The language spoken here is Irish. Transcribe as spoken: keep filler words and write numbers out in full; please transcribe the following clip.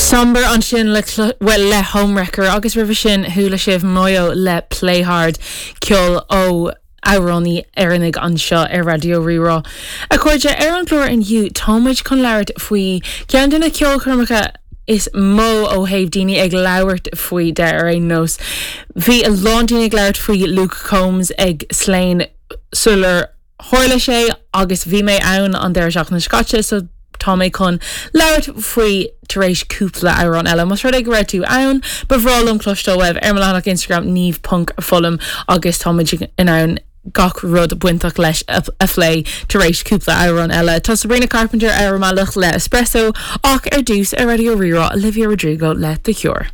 Sombr ansin le well le Homewrecker agus roimhe sin chuala sibh Moyo le Play Hard ceol ó amhránaí Éireannach anseo ar Raidió Rí-Rá. A chairde ar an gclár inniu táimid chun labhairt faoi ceann de na ceolchoirmeacha is mó ó thaobh daoine ag labhairt faoi de ar aon nós. Bhí a lán daoine ag labhairt faoi Luke Combs ag Slane sular tharla sé agus bhí mé ann an deireadh seachtaine seo caite so tá mé chun labhairt faoi tar éis cúpla amhrán eile. Más rud é go raibh tú ann, ba bhreá liom cloisteáil uaibh ar mo leathanach Instagram Niamh ponc Foghlaim agus táimid in ann gach rud bainteach leis a, a phlé tar éis cúpla amhrán eile. Tá Sabrina Carpenter ar an mbealach le Espresso ach ar dtús ar Raidió Rí-Rá Olivia Rodrigo le The Cure.